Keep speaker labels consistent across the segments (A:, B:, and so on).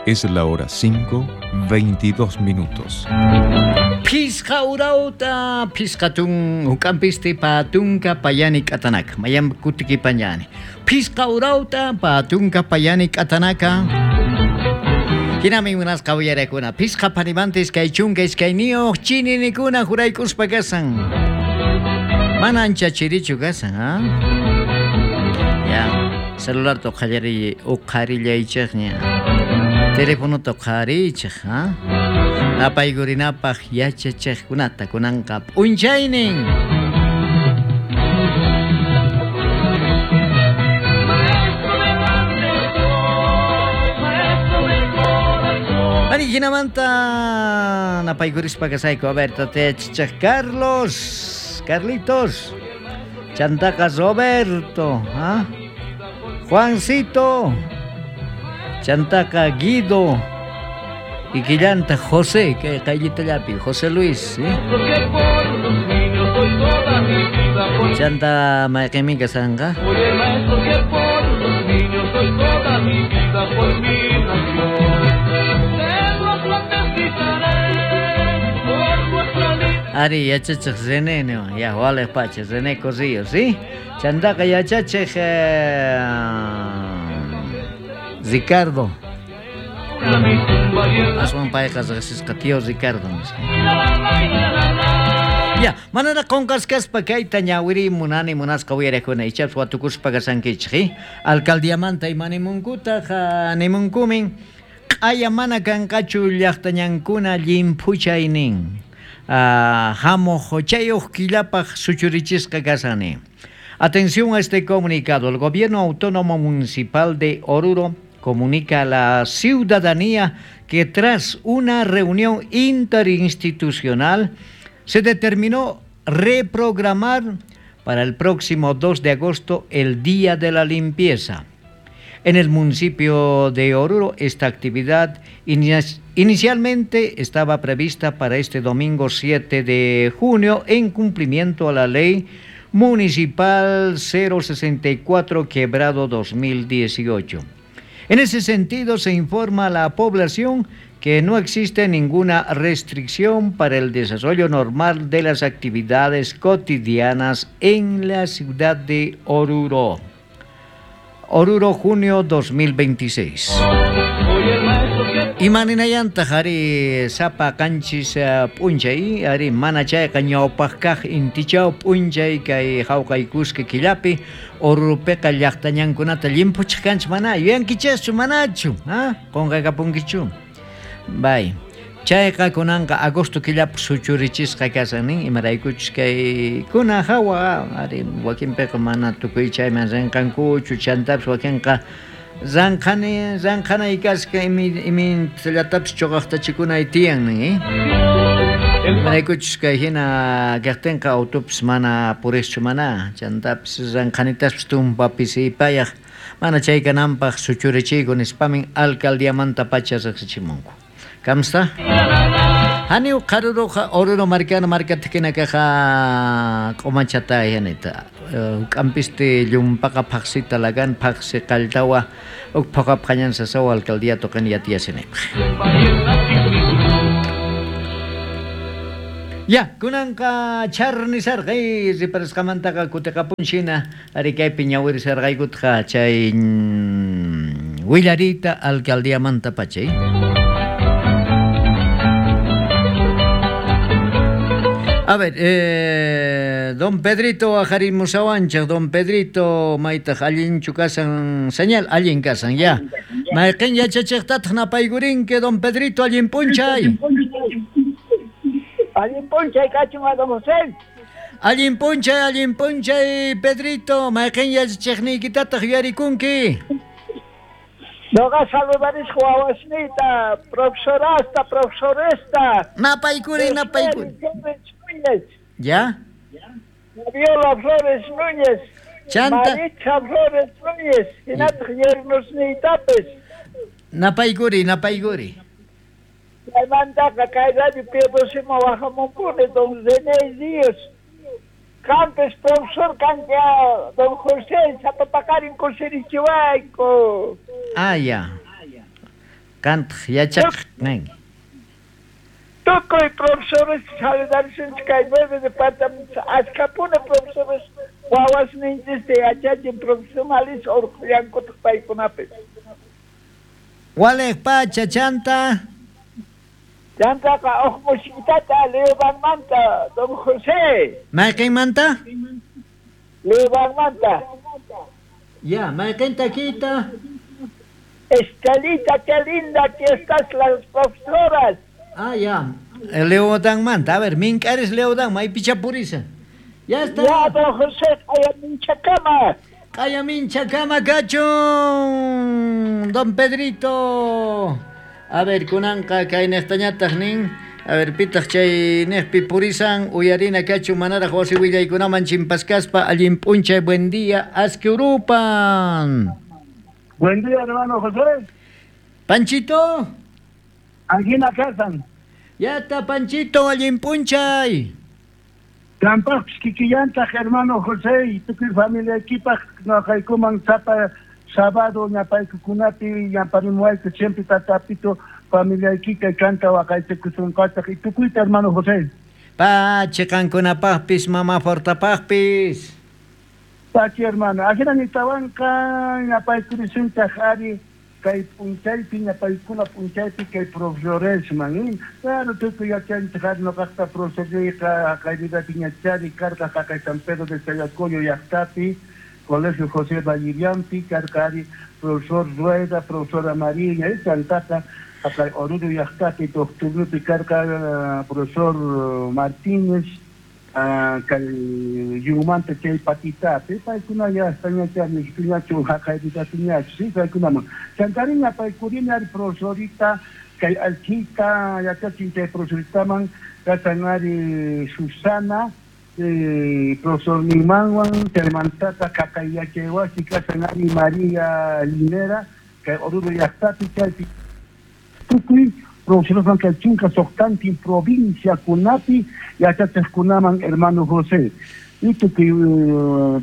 A: Es la hora 5, 22 minutos.
B: Phisqa urawta, phisqa tun huk'ampisti patunka payani k'atanaka. Mayan kutikipañani. Phisqa urawta patunka payani k'atanaka. Hinami munasqa uyarakuna. Phisqa panimantis kay chunka iskayniyuq chininikuna juraykuspa kasan. Mana ancha chirichu kasan, ha? Ya, celularta uqhallariy uqharillaychikña. Telefonota uqhariychik, ha? Napaykurinapaq yachachiqkunata kunanqa p'unchaynin. Ari jinamanta napaykurispa kasayku. A ver, tatayachichik Carlos, Carlitos, chantaqa Roberto, ¿ah? Juancito, chantaqa Guido, y quillanta José, que qayllitallapi, José Luis, ¿eh? Chanta mayqinmi kasanqa. Ari yachachiq René niwan, ya waliq pacha René Corrillo, ¿sí? Chantaqa yachachiq Ricardo. Aswan payqa riqsisqa tío Ricardo nisqa. Ya, manaraq qunqaskaspa kayta ñawiriy munani munasqa uyariqkuna ichapas watukuspa kasankichik, ¿eh? Alcaldiamanta imanimunkutaq nimunkumin q'aya mana kanqachu llaqtañankuna llimphuchay nin. Hamuq chayuq killapaq suchurichisqa kasan nin. Atención a este comunicado. El Gobierno Autónomo Municipal de Oruro comunica a la ciudadanía que tras una reunión interinstitucional se determinó reprogramar para el próximo 2 de agosto el Día de la Limpieza. En el municipio de Oruro, esta actividad inicialmente estaba prevista para este domingo 7 de junio en cumplimiento a la Ley Municipal 064 quebrado 2018. En ese sentido, se informa a la población que no existe ninguna restricción para el desarrollo normal de las actividades cotidianas en la ciudad de Oruro. Oruro, junio 2026. Imaninayantaq ari sapa qanchis p'unchay ari mana chayqa ñawpaq kaq intichaw p'unchay kay hawkaykusqa killapi Oruropiqa llaqtañankunata llimphuchiq kanchik mana yuyankichikchu manachu ha qunqakapunkichu bay chayqa kunanqa agosto killapi suchurichisqa kashan nin imaraykuchus kaykuna hawa ari wakinpiqa mana tukuy chayman rinqankuchu chantapis wakinqa ranqhani ranqhanay kasqa imintallatapis chuqaqtachikunay tiyan nin eh imaraykuchus kay hina kaqtinqa autopis mana puriqchu mana chantapis ranqhanitaspis tumpa pisipayaq mana chay kananpaq suchurichiyku nispamin alcaldiamantapacha riqsichimunku. Kamsta? Hani uqharuruqa Oruro markana markatikina kaqa q'umachata yanita. Huk'ampisti llumpaqa phaqsita lagan phaqsi qalltawa uk phoqa phañan sasawa alcaldía toqen yatiyasinipaq. Ya, kunanqa charnisarqay riparasqamantaqa kutiqapunchina ari kaypi ñawirisarqaykutqa chay willariyta alcaldiamanta pachay. A ver, don Pedrito ajarimusawanchik, don Pedrito maytaq allinchu kasan señal, allin kasan ya. Mayqin yachachiqtataq napaykurinki don Pedrito allin p'unchay.
C: Allin p'unchay kachun don José.
B: Allin p'unchay Pedrito, mayqin yachachiqniykitataq yuyarikunki.
C: Noqa saludarisqa wawasniyta, profesorasta, profesoresta.
B: Napaykuri, napaykuri. ¿Ya?
C: Fabiola Flores Núñez.
B: Chanta.
C: Maritza Flores Núñez. Hinataq yernosniytapis.
B: Napaykuri, napaykuri.
C: Chaymantaqa kay radio Piedosima wajamunpuni don René Díaz. Campes profesor kanki don José sapa paqarin kusirichiwayku.
B: Ah, ya. Qantaq yachaq kanki.
C: Tukuy profesores saludarishunchik kay 9 departamentos ashkhapuni profesores wawasninchista yachachin profesionales urqhullankutaq paykunapis.
B: Waliq pacha chanta.
C: Chantaqa uj musikitata Leobanmanta, don José.
B: Mayqinmanta?
C: Leobanmanta.
B: Ya, mayqin takiyta?
C: Estelita, qué linda que estás las profesoras.
B: Ah, ya. Leodanmanta. A ver, mink'aris Leodan, maypicha purisa. Ya está.
C: Ya, don José, q'ayaminchakama.
B: Q'ayaminchakama kachun, don Pedrito. A ver, kunanqa kay niqtañataq nin. A ver, pitaq chay niqpi purisan uyarina kachun manaraq wasi willaykunaman chimpaskaspa allin p'unchay, buen día, aski urupan.
D: Buen día, hermano José.
B: Panchito.
D: Angina kasan.
B: Ya está, Panchito, allin p'unchay.
D: Kampaqpis kikillantaq, hermano José, y tukuy familiaykipaq noqaykuman sapa sábado ñapaykukunapi yamparimuwayku siempre tatapito familiaykita kanta waqaychakusunqataq y tukuyta, hermano José.
B: Pachi qankunapaqpis, mama Fortapaqpis.
D: Pachi, hermano. Ajina nitawanqa ñapaykurisunchaq ari kay p'unchaypi ñapaykuna p'unchaypi kay profesoresman. Claro, tukuy yachanchik ari noqaqta profesorniyqa jaqayvidapi ñachari karqa jaqay San Pedro de Chayacoyo llaqtapi, Colegio José Vallivianpi, karqa ari profesor Rueda, profesora Mariña, chantaqa jaqay Oruro llaqtapi doctornupi karqa profesor Martínez, kay yumanta chay patitapi, paykuna ya estañachani, ñachu jaqayvidapi ñachu, sí, paykunaman. Chantariña paykurina ari profesorita, kay alchita, yachachin chay profesoritaman, kasan ari Susana, profesor Nimanwan, chaymantata jaqay yachaywasi kasan ari María Linera, kay Oruro llaqtapi chaypi tukuy profesoresman kay chunka suqtantin provincia kunapi yachachiqkunaman, hermano José. Y tukuy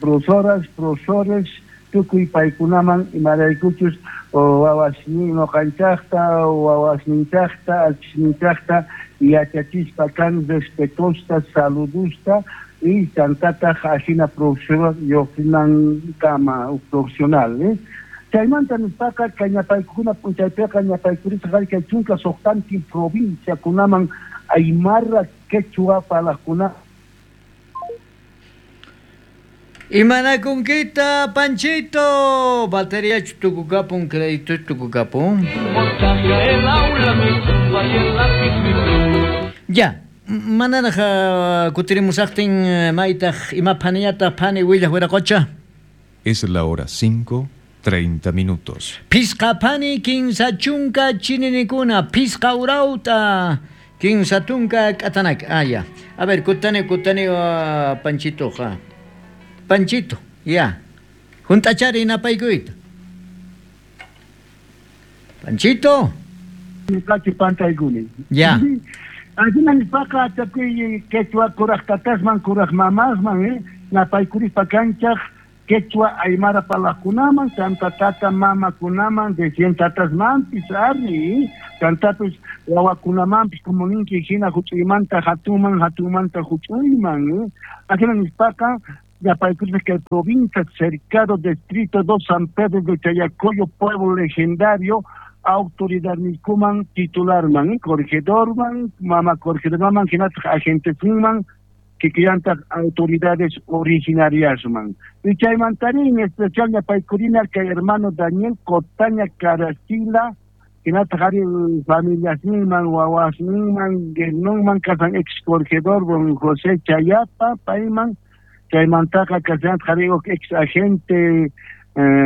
D: profesoras, profesores, tukuy paykunaman imaraykuchus wawasnin noqanchaqta, wawasninchaqta, alchisninchaqta yachachispa kan respetusta, saludusta y chantataq ajina profesor lluqsinankama profesional. Chaymanta nispaqa kay ñapaykuna p'unchaypiqa ñapaykurisqa kay chunka suqtantin provincia kunaman aymara quechua parlaqkuna.
B: Imanakunkita, Panchito, batería tukukapun, crédito tukukapun. Ya, manaraj kutirimusaqtin maytaq ima phaniñataq phani willaq wiraqocha.
A: Es la hora 5:30 minutos.
B: Pisqa phani kinsa chunka chininikuna, pisqa urauta, kinsa tunka k'atanak. Ah, ya. A ver, kutani Panchito, ja. Panchito, ya. Juntachari napaykuyta. Panchito.
D: Kachi pantaykuni.
B: Ya.
D: Ajina nispaqa tukuy quechua kuraq tatasman, kuraq mamasman, napaykurispa kanchaq quechua aymara parlaqkunaman, chanta tata mamakunaman, recién tatasmanpis ari, chantapis wawakunamanpis como ninki hina huch'uymanta hatunman, hatunmanta huch'uyman. Ajina nispaqa ñapaykurispa kay provincia cercado distrito 2 San Pedro de Chayacoyo, pueblo legendario, autoridad nikuman titularman, corregidorman, mama corregidorman, hinataq agentesinman, kikillantaq autoridades originariasman. Y chaymantari en especial ñapaykurina kay hermano Daniel Cotaña Caracila, hinataq ari familiasninman, wawasninman, guernunman, kasan ex corregidor don José Chayapa, payman, chaymantaqa kasan ari ex agente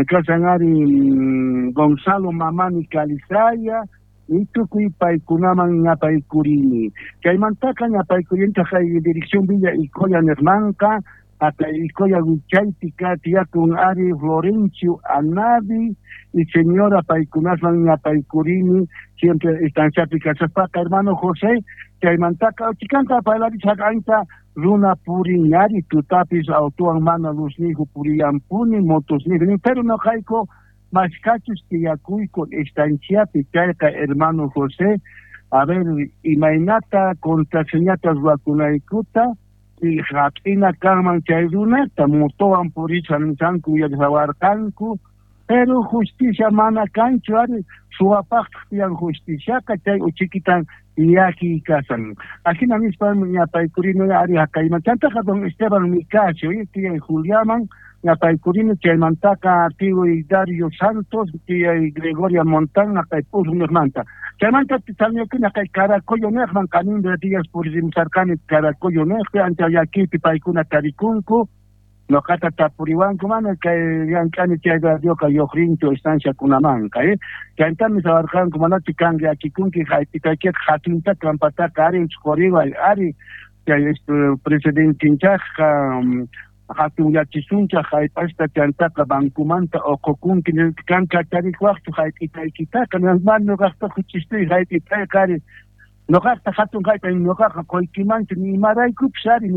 D: kasan ari Gonzalo Mamani Calizaya, y tukuy paykunaman ñapaykurini. Chaymantaqa ñapaykurinta kay dirección Villa Icoya Nermanqa, hasta Icoya Wichaypi tiyakun ari Florencio Anavi y señora paykunasman ñapaykurini, siempre estanciapi kasaspaqa hermano José, chaymantaqa chikanta parlarisaq ancha runa purin ari tutapis autuwan mana luznijo puriyanpuni motosnijo, pero noqayku Mashkachus tiyakuyku estanciapi chayqa, hermano José, a ver, imaynata contraseñata ruwakunaykuta hap'ina kanman chay runata motowan purisqa nisqanku uyarisawarqanku, pero justicia mana kanchu ari, suwapaqtaq tiyan justiciaqa, chay uchikitan llakiy kasan. Ajina nispa ñapaykurini ari haqayman. Chantaqa don Esteban Nicasio, tiyay Juliaman ñapaykurini, chaymantaqa tiyuy Dario Santos, tiyay Gregoria Montán, haqay P'usniqmanta. Chaymanta salñakuni haqay Caracollo niqman, qaninda días puririmsarqani Caracollo niqpi, ancha llakiypi paykuna tarikunku. Noqata tapuriwanku, mana kay llank'ani chay radioqa lluqrinchu estanciakunamanqa, chaytami sawarqanku, manachu kan llakikunki jayp'itaykiqa hatunta trampataqa ari quriway ari chay presidentinchaqqa hatunyachisunchaq jayp'asta chantaqa bankumanta uqukunki kan kacharikwaqchu jayp'itaykitaqa mana noqaqtaqa chistuy jayp'itayqa ari noqaqta hatun jayp'a noqaqa quykimanchu ni imaraykupis ari.